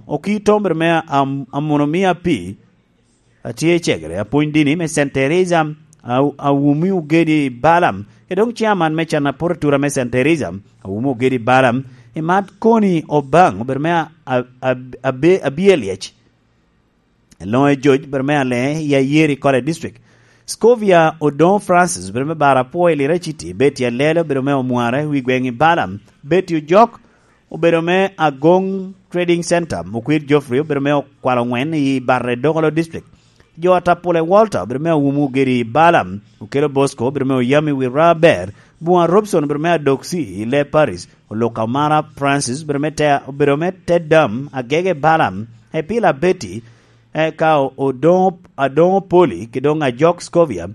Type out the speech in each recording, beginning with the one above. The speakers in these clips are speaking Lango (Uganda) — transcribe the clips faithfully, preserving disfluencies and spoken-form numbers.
Okito mere me am-, amono mia pi, atye i cegere, apwony dini me Saint Teresa, a-, awumi ogedi Balaam, ke dong chairman me can aporo atura me Saint Teresa, awumi ogedi Balaam, i mat koni Obaŋ, obedo me a-, a-, a-, abe-, abye lyec. Eloŋo i George, obedo me ale i Ayeri College District. Scovia Odoŋo Francis, obedo me Bara Pwo i Lira City, Betty Alelo, obedo me Omwara i wi gweŋ i Balaam, Betty Ojok, obedo me Agoŋ Trading Center, Okwir Geoffrey, obedo me Okwalo Ŋwen i Barre Dokolo District. Jo Atapule Walter, obedo me Awumo Ogedi i Balaam, Okelo Bosco, obedo me Oyami wi Raber, Bua Robson, obedo me Adoksi i Le Paris, Oluka Omara Francis, obedo me Te-, obedo me Tedam, Agege Balaam, Epila Betty, eka o-, Odoŋo, Adoŋo Poli, ki doŋ Ajok Scovia.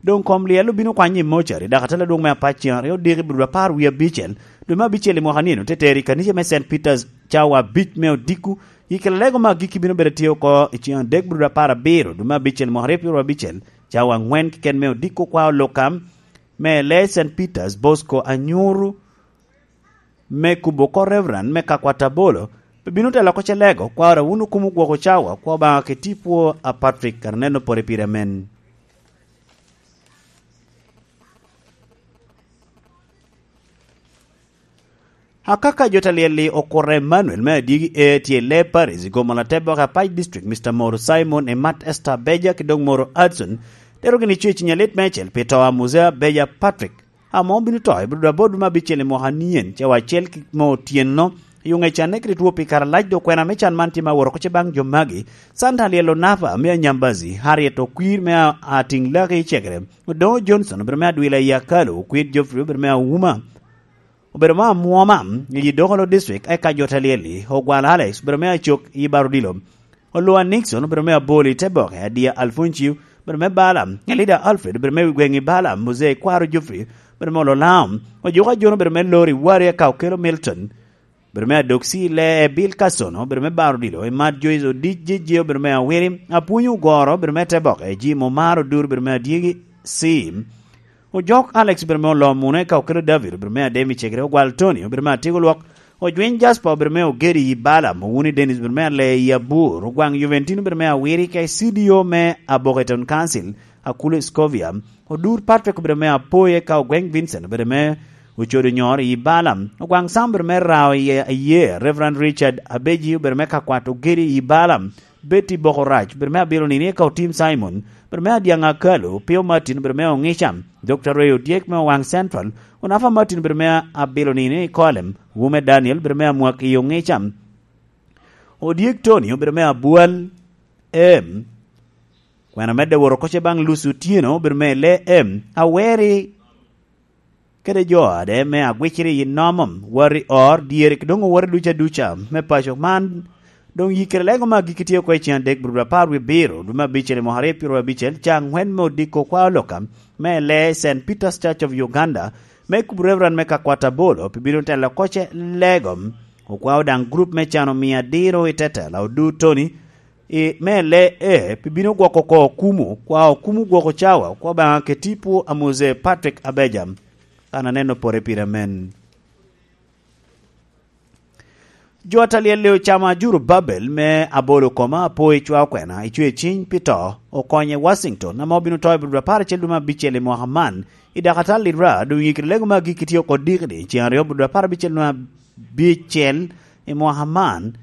Doŋ kom lyel obino kwanye i mocari, dok atela adwoŋ me apac cen aryo odiko i brudo apar wie abicel, dwe me abicel i mwaka nino, te tero i kanica me Saint Peter's cawa abic me odiko. I kela lego me agikki bino bedo tye oko i cen adek brudo apar abiro, dwe me abicel i mwaka aryo pyero abicel, cawa aŋwen keken me odiko kwa oluka me le Saint Peter's Bosco Anyuru, me kubo oko Reverend me Kakwat Abolo, pe bino telo oko ce lego, kwa ora wun okumo gwoko cawa, kwa Obaŋa ke tipo a Patrick, kara neno pore pire amen. Akaka jo ta lyel-li okuto Emmanuel me Adyegi E tye i Le Paris i gomo lateboka Apac District, Mister Moro Simon, Emat Esther Beja, ki doŋ Moro Hudson, tero gini cwec i nyalit me acel pi to a Muzea Beja Patrick. Amo obino to i brudo aboro dwe me abicel i mwaka nien, cawa acel ki mo otyeno, i oŋec anne kede two pi kare alac. Dok kwena me can man tye me awot oko ce baŋ jo magi: Santa Lyel Onapa me Anyambazi, Harriet Okwir me A-, Atiŋ Laki i Cegere, Odoŋo Johnson obedo me Adwila i Akalo, Okwir Geoffrey obedo me Auma, obedo me Amwoma i Dokolo District, eka jo ta lyel-li, Ogwal Alex obedo me Acok i Barudilo, Olwa Nixon obedo me Aboli i Teboke, Adia Alfoncio obedo me Balaam, Elida Alfred obedo me wi gweŋ i Balaam, Muzei Kwaro Geoffrey obedo me Ololao, Ojuko Ajono obedo me Lori Wari, eka Okelo Milton obedo me Adoksi, Lee Bill Kasono obedo me Baro Odilo, Emat Joyce Odic Jejje obedo me Awiri, Apwonyo Ogoro obedo me Teboke, Jim Omar Odur obedo me Adyegi, Sim Ojok Alex obedo me Oloo Mune, eka Okelo David obedo me Ademi Cegere, Ogwal Tony obedo me Atiko Lwok, Ojwiny Jasper obedo me Ogedi i Balaam, Owuni Dennis obedo me Ale i Abur, Ogwaŋ Juventino obedo me Awiri, ka C D O me Aboke Town Council, Akulu Scovia, Odur Patrick obedo me Apoye, ka Ogweng Vincent obedo me Ocodo Nyor i Balaam, Ogwaŋ Sam obedo me Rao i Aye, Reverend Richard Abeji obedo me Kakwat Ogedi i Balaam, Betty Bokorac obedo me Abilo Nini, eka Otim Simon obedo me Adyaŋ Akalo, Pio Martin obedo me Oŋica, Doctor Ray Odyek me Owaŋ Central, Onafa Martin obedo me Abilo Nini i Kolem, Wume Daniel obedo me Amwak i Oŋica, Odyek Tony obedo me Abwal M, kwena medde wot oko ce baŋ Lucy Otyeno obedo me Le M, Aweri kede jo ade me Agwiciri i Nomom, wot i Or, dyere, ki doŋ owote duca duca me paco man. Doŋ yikkere lego me agikki tye oko i cen adek, brudo apar wie abiro, dwe me abicel i mwaka aryo pyero abicel, ca aŋwen me odiko kwa oloka me Le Saint Peter's Church of Uganda, me kubo Reverend me Kakwat Abolo, pi bino telo oko ce lego. Okwao daŋ grup me cano mia adiro i te tela Odur Tony, i me Le E, pi bino gwoko oko okumu, kwa okumu gwoko cawa, kwa Obaŋa ke tipo a Mose Patrick Abeja, kan aneno pore pire men. Jo atalyel ocamo ajuru Babel me Abolo koma apo i cwa okwena, i cwe ciny pi to, okonye Washington, ame obino to i brudo apar acel dwe me abicel i mwaka man, i dakatal Lira, doŋ yikiri lego me agikki tye oko dikni, ceŋ aryo brudo apar abicel dwe me abicel i mwaka man,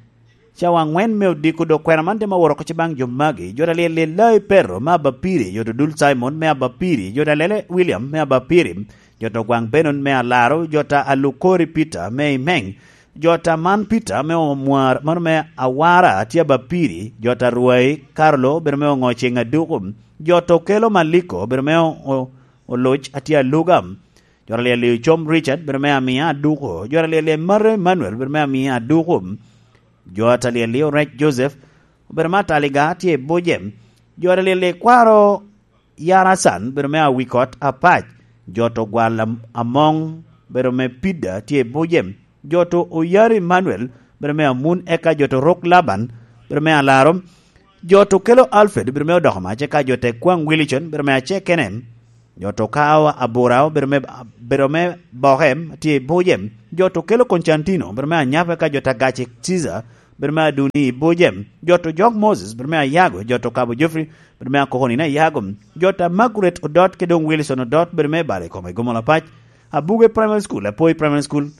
cawa aŋwen me odiko dok kwena man tye ma wot oko ce baŋ jo magi, jo ta lyel lyel Lai Petero me Abapiri, jo ta dul Cimon me Abapiri, jo ta lele Wiliam me Abapiri, jo ta gwaŋ Benon me Alaro, jo ta Alukori Peter me Imeng, jo ta man Peter me Omwar, mano me Awara tye Abapiri, jo ta Rwai Karlo bedo me Oŋo Ceŋ Aduku, jo ta Okelo Maliko bedo me O-, O-, Oloc atye Aluga, jo ta lyel lyel Com Richard bedo me Amia Aduku, jo ta lyel lyel Maro Emmanuel bedo me Amia Aduku, jo ta lyel lyel Orec Joseph obedo me Ataliga tye i Bujem, jo ta lyel lyel Kwaro Yarasan bedo me Awikot Apac, jo ta Ogwal Am-, Amoŋ bedo me Pida tye i Bujem, jo ta Oyari Emmanuel bedo me Amun, eka jo ta Orok Laban bedo me Alaro, jo ta Okelo Alfred bedo me Odoko Mac, eka jo ta Ekwaŋ Wilicon bedo me Acekene, jo ta Okawa Abura obedo me, bedo me Boke, tye i Bujem, jo ta Okelo Koncantino obedo me Anyap, eka jo ta Gaci Ciza bedo me Aduni Ibojem, jot Ojok Moses, bedo me Ayago, jot Okabo Geoffrey, bedo me Akoko Nino Ayago, jot a Margaret Odot, kede doŋ Wilson Odot, bedo me Bale Kome Gomol Apac, Abuge Primary School, Apoi Primary School,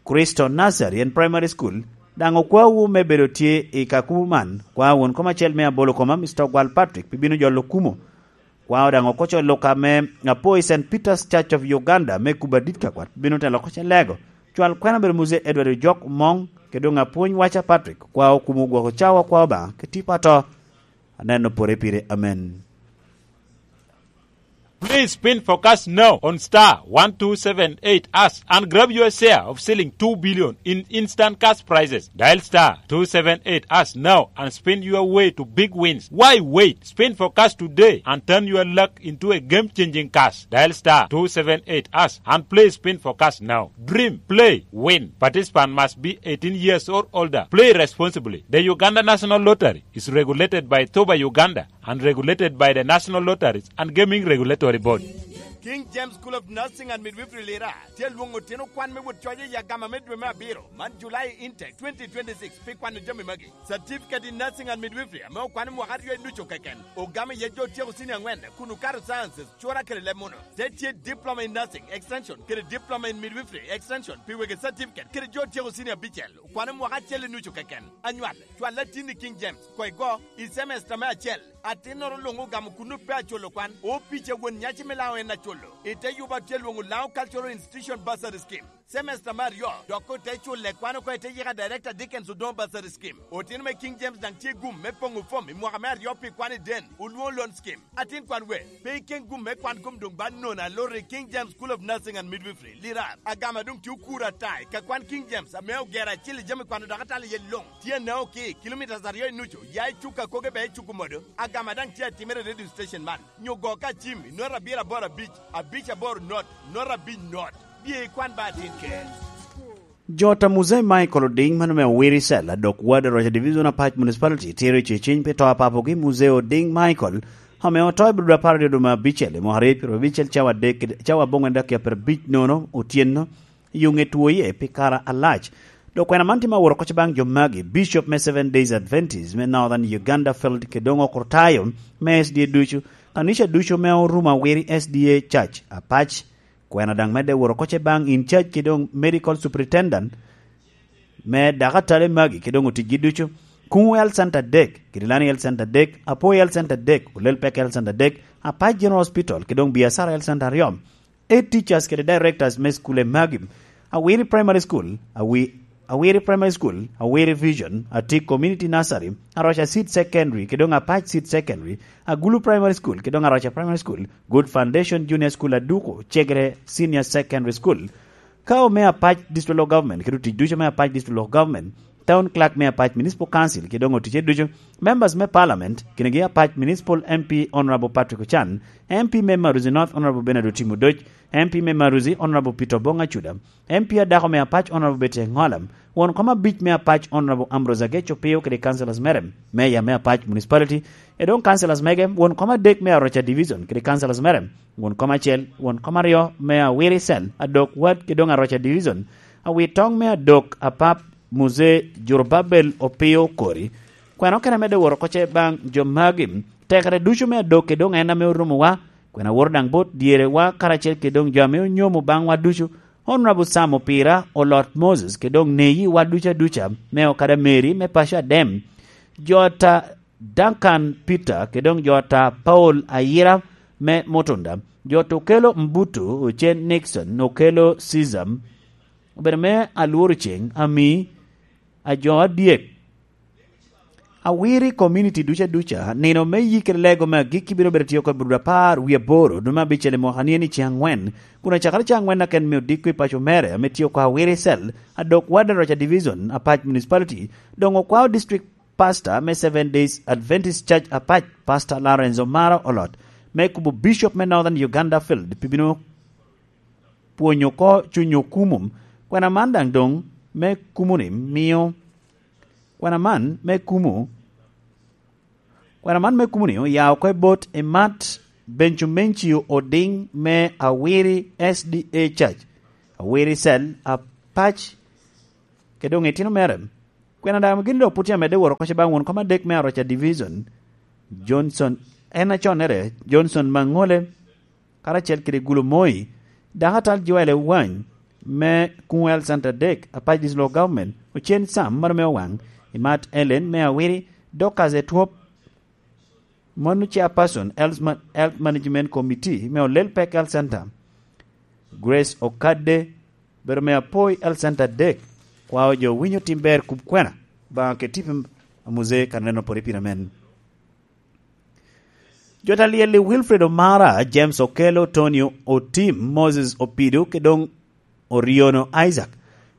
Kristo Nazarene Primary School, daŋ okwawu me bedo tye i kakumo man. Kwa won kom acel me Abolo Koma, Mister Ogwal Patrick, pi bino jolo kumo. Kwa daŋ okoco luka me Apoi Saint Peter's Church of Uganda me kubo adit ka kwat, bino telo koc alego. Cwal kwena bedo Muse Edward Ojok Mong, kede doŋ apwony waca Patrick, kwa okumo gwoko cawa kwa Obaŋa, ke tipo ato. Aneno pore pire, amen. Please spin for cash now on star one two seven eight hash and grab your share of selling two billion in instant cash prizes. Dial star two seven eight hash now and spin your way to big wins. Why wait? Spin for cash today and turn your luck into a game-changing cash. Dial star two seven eight hash and play spin for cash now. Dream, play, win. Participant must be eighteen years or older. Play responsibly. The Uganda National Lottery is regulated by Toba Uganda and regulated by the National Lotteries and Gaming Regulatory Board. King James School of Nursing and Midwifery Lira tye lwoŋo otino kwan me wot coc i agama me dwe me abiro man, July intake twenty twenty-six, pi kwano jami magi: Certificate in Nursing and Midwifery ame okwano mwaka aryo i ducu keken, ogamo iye jo otyeko senior angwen kun okato sciences, cura kede leb muno. Te tye Diploma in Nursing Extension kede Diploma in Midwifery Extension pi wegi certificate kede jo otyeko senior abicel, okwano mwaka acel i nucu keken. Anywal, cwal atin i King James, koigo, i semester me acel. Atinnoro luŋ ogamo kuno pe aculo kwan. Opica won nyaci me Laŋo en aculo. I te yubo atye lwoŋo Laŋo Cultural Institution Bursary Scheme, semester me aryo, dok ote culle kwan oko i te yika Director Dickens Odongo Bursary Scheme. Otino me King James daŋ tye gum me poŋo fom i mwaka me aryo pi kwan i den, olwoŋo loan scheme. Atin kwan we, pe iken gum me kwan kom doŋ ba nono alor i King James School of Nursing and Midwifery, Lirar. Agama doŋ tye okuro ata i ka kwan King James ame ogero acil i jami kwano dok atalo iye luŋ. Tye anaŋo ki kilomitas aryo i nucu ya i cuk akoge ba i cuk omodo. Agama daŋ tye atimere i radio station man. Nyo go ka cim i nota abiro aboro abic, abic aboro not, nota abic not. Bye ikwan ba atin ker. Jot a Muzei Michael Oding, mano me Awiri Cell, adok ward Rocha Division, Apac Municipality, tye ru i ceciny pi to a papogi Muzei Oding Michael, ame oto i Abril apar aryo dwe me abicel i mwaka aryo pyeraryo abicel, cawa adek, cawa aboŋwen dakiya pyerabic nono otyeno, i ŋe two iye pi kare alac. Dok kwena man tye me aworo kocce baŋ jo magi: Bishop me Seven Days Adventist me Northern Uganda Field, kede doŋ okrutayo me S D A ducu, kanica ducu me orumo Awiri S D A Church, Apac. Kwena daŋ medde woro kocce baŋ in charge kede doŋ medical superintendent me dakatale magi kede doŋ oticgi ducu, Kuŋu Health Center adek, Kirilani Health Center adek, Apoi Health Center adek, Olel Pek Health Center adek, Apac General Hospital kede doŋ Biacara Health Center aryo, head teachers kede directors me skule magi: Awiri Primary School, Awi-, Awiri Primary School, Awiri Vision, Atik Community Nursery, Aroca Seed Secondary kede doŋ Apac Seed Secondary, Agulu Primary School kede doŋ Aroca Primary School, Good Foundation Junior School, Aduko Cegere Senior Secondary School. Ka ome Apac District Local Government kede otic ducu me Apac District Local Government, Town Clerk me Apac Municipal Council kede doŋ oticce ducu, Members me Parliament, kinegi Apac Municipal M P Honorable Patrick Ochan, M P me Maruzi North Honorable Bernard Otimo Odoc, M P me Maruzi Honorable Peter Obong Acuda, M P adako me Apac Honorable Betty Engola, won kom abic me Apac Honorable Ambrose Agech Opio kede councillors mere, Mayor me Apac Municipality, e doŋ councillors mege, won kom adek me Aroca Division kede councillors mere, won kom acel, won kom aryo me Awiri Cell, adok ward kede doŋ Aroca Division, awir toŋ me adok Apap Muzee Jorobabel Opio Okori. Kwena okene medde woro kocce baŋ jo magi: Tekere ducu me adok kede doŋ en ame orumowa, kwena woro daŋ bot dyerewa karacel kede doŋ jo ame onyomo baŋwa ducu, Honorable Sam Opira, Olot Moses, kede doŋ neyi wa ducu aduca, me okada Mary me paco Adem, jota Duncan Peter, kede doŋ jota Paul Ayira me Mutunda, jota Okelo Mbutu, Ocen Nixon, Okelo Caesar, obedo me Alworo Ceng, Ami, Ajo Adyek, Awiri community duca duca, nino me yik kede lego me agikki bino bedo tye oko i Abril apar wie aboro, dwe me abicel i mwaka ni eni ceŋ angwen, kun acakere ceŋ angwen aken me odiko i paco mere ame tye oko Awiri Cell, adok Warden Rocha Division, Apac Municipality, doŋ okwao District Pastor me Seven Days Adventist Church Apac, Pastor Lawrence Omara Olot, me kubo Bishop me Northern Uganda Field pi bino pwonyo oko cuny okumo. Kwena man daŋ doŋ me kumo-ni mio, kwena man me kumo, kwena man me kumo-ni oya oko i bot Imat Bencumencio Oding me Awiri S D A Church, Awiri Cell, Apac, kede doŋ itino mere. Kwena daŋ gin dok pwod tye amedde woro koc baŋ won kom adek me Aroca Division, Johnson, en aconnere, Johnson Maŋole, karacel kede Gulo Moi, dako atal Joel Ewany me Kuŋ Health Center adek, Apac District Local Government, Ocen Sam, mano me Owaŋ, Imat Ellen me Awiri, Dorcas Etwop, mano chairperson Health Ma-, Health Management Committee me Olel Pek Health Center, Grace Okadde, bedo me Apoi Health Center adek, kwao jo winyo tim ber kub kwena, baŋa keti pi amuze kan neno pore pira men. Jo ta lyel i Wilfred Omara, James Okello, Tony Otim, Moses Opido, ke doŋ Oriono Isaac.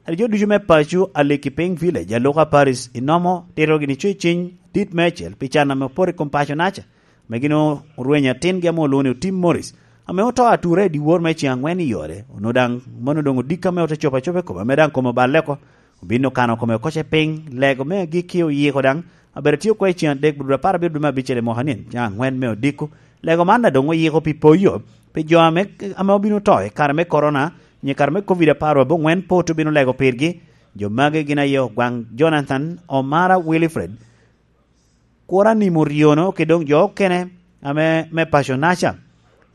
Adi jo ducu me paco a Likipiny Village, Aluka Paris, inomo tito gini co i ciny dit me acel pi can ame opoto i kom paco naca, ame gin orwenyo atingi ame olwoŋo ni Otim Morris, ame oto ature i dyewor me ceŋ aŋwen i yore, onwoŋo daŋ mano doŋ odiko ame ote cobo acoba i kome, ame daŋ kome oballe oko, obin okano kome okoce piny, lego me agikki oyiko daŋ, abedo tye oko i ceŋ adek, bro apar abiro dwe me abicel i mwaka ni, ceŋ aŋwen me odiko. Lego man daŋ doŋ oyiko pi poyo, pi jo ame, ame obino to i kare me korona, nyo i kare me Covid apar abongwen pe otye obino lego pirgi. Jo magi gin aye Ogwaŋ Jonathan, Omara Wilfred, Kura Nimo Riono, ki doŋ jo okene ame me paco naca.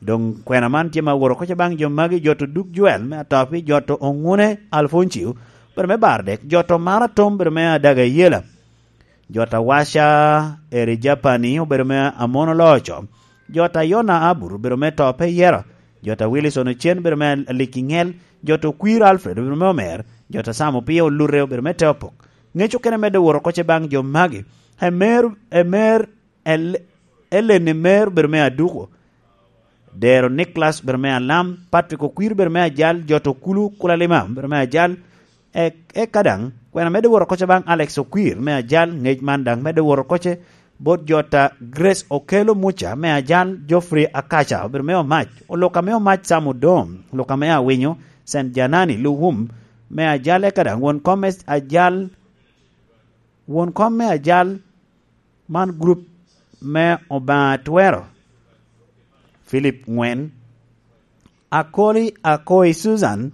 Doŋ kwena man tye ma woro koca baŋ jo magi, jo to Duk Joel me Atopi, jo to Oŋune Alfoncio, bedo me Bardek, jo to Mara Tom, bedo me Adaga Yela. Jo ta Waca Eri Japani obedo me Amon Oloco. Jo ta Yona Abur obedo me To Pe Yero. Jo ta Wilson Ocen obedo me Aliki Ŋel. Jo ta Okwir Alfred obedo me Omer. Jo ta Sam Opio Olute obedo me Te Opok. Ŋec okene medde woro koce baŋ jo magi. Emer, Emer, El-, Ellen Emer obedo me Aduko. Dero Nicholas bedo me Alam, Patrick Okwir bedo me Ajal, jo to Kulu Kulalima bedo me Ajal, e-, eka daŋ, kwena medde woro koca baŋ Alex Okwir me Ajal, ŋec man daŋ medde woro koce bot jo ta Grace Okello Muca me Ajal, Geoffrey Akaca obedo me Omac, Oluka me Omac Sam Odom, Oluka me Awinyo, Saint Janani Luwum me Ajal, eka daŋ won kom me Ajal, won kom me Ajal, man gurup me Obaŋa Twero, Philip Ŋwen, Akoli Akoi Susan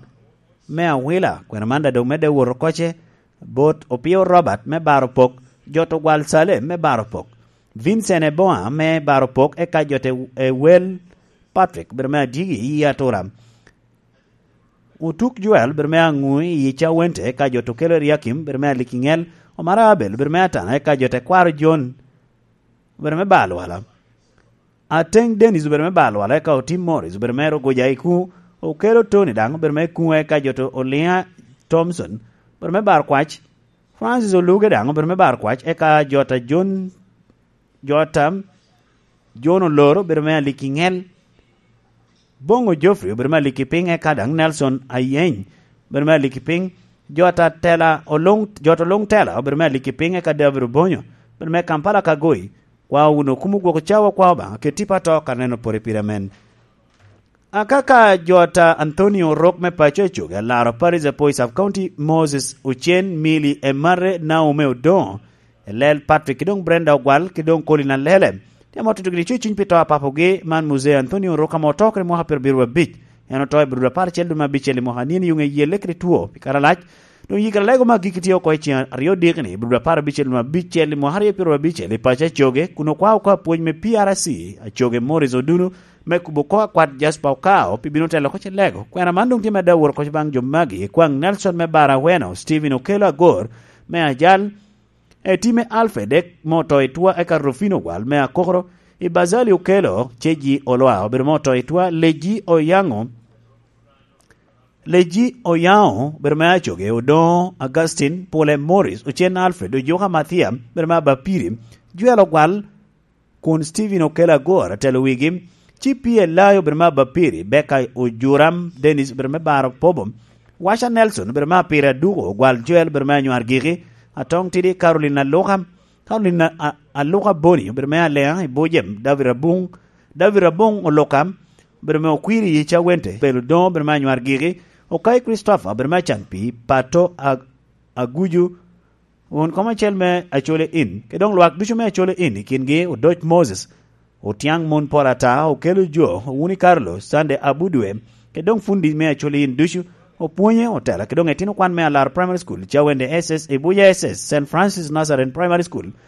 me Awila, kwena man daŋ doŋ medde woro koce bot Opio Robert me Baro Pok, jo to Gwal Salem me Baro Pok, Vincent Eboa me Baro Pok, eka jo te Ewel Patrick bedo me Adigi i Atura. Otuk Joel bedo me Aŋu i Cawente, eka jo to Kelo Eliakim bedo me Alikiŋel, Omara Abel bedo me Atana, eka jo te Kwaro John bedo me Balwala. Ateng Dennis obedo me Balwala, eka Otim Morris obedo me Rogoja Iku, Okelo Tony daŋ obedo me Kuŋ, eka jo to Oliŋa Thompson obedo me Bar Kwac, Francis Oluge daŋ obedo me Bar Kwac, eka jo ta John, jo ta John Oloro obedo me Alikiŋel, Boŋo Geoffrey obedo me Alikipiŋ, eka daŋ Nelson Ayeny obedo me Alikipiŋ, jo ta Tela Oluŋ, jo ta Oluŋ Tela obedo me Alikipiŋ, eka David Obonyo obedo me Kampala Kagoi, kwa wun okumo gwoko cawa kwa Obaŋa, keti pa to ka neno pore pire amen. Akaka jo ta Anthony Orok me paco Ecoge, Alaro Paris Apoi Sub County, Moses Ocen, Mili Emare, Naomi Odoŋo, Elel Patrick, ki doŋ Brenda Ogwal, ki doŋ Colin Alele. Tye amo tutugi ni cuny pi to a papogi, man Muzee Anthony Orok ame oto kede mwaka pyerabiro abic. En oto i Abril apar acel dwe me abicel i mwaka nino yuŋ eyelle kede two pi kare alac. Doŋ yikere lego me agikki tye oko i ceng aryo diki ni, Abril apar abicel dwe me abicel i mwaka aryo pyerabicel i paco Ecoge, kun okwao oko apwony me P R C, Acoge Morris Odunu, me kubo kok akwat Jasper Okao pi bino telo oko ce lego. Kwena man doŋ tye medde awot oko baŋ jo magi, kwaŋ Nelson me Bara Aweno, Stephen Okello Agor me Ajal, Eti me Alfred ek mo to i twa, eka Rufino Gwal me Akokoro, i Bazali Okello, Ceji Olwa obedo mo to i twa, Leji Oyaŋo, Leji Oyaŋo obedo me Acoge, Odoŋo Augustine, Pule Morris, Ocen Alfred, Ojuka Mathiam obedo me Abapiri, Jwel Ogwal, kun Stephen Okello Agor atelo wigi, ci P L I obedo me Abapiri, Becca Ojuram, Dennis obedo me Baro Pobo, Washa Nelson obedo me Apiri Aduko, Ogwal Joel obedo me Anywar Giki, Atong Tidi Caroline Aluka, Caroline A-, Aluka Boni obedo me Alea i Bujem, David Abung, David Abung Oluka obedo me Okwiri i Cawente, Pelo Doŋo obedo me Anywar Giki, Okai Christopher obedo me Acan Pii, Pato A-, Aguju, won kom acel me Acole In, ke doŋ lwak ducu me Acole In, i kingi Odoc Moses, Otiaŋ Mon Pol Ata, Okello Jo, Owuni Carlo, Sunday Abudwe, ke doŋ fundi me Acole In ducu, Opwonye otela ki doŋ etino kwan me Alar Primary School, Cawende S S, Ibuya S S, Saint Francis Nazarene Primary School,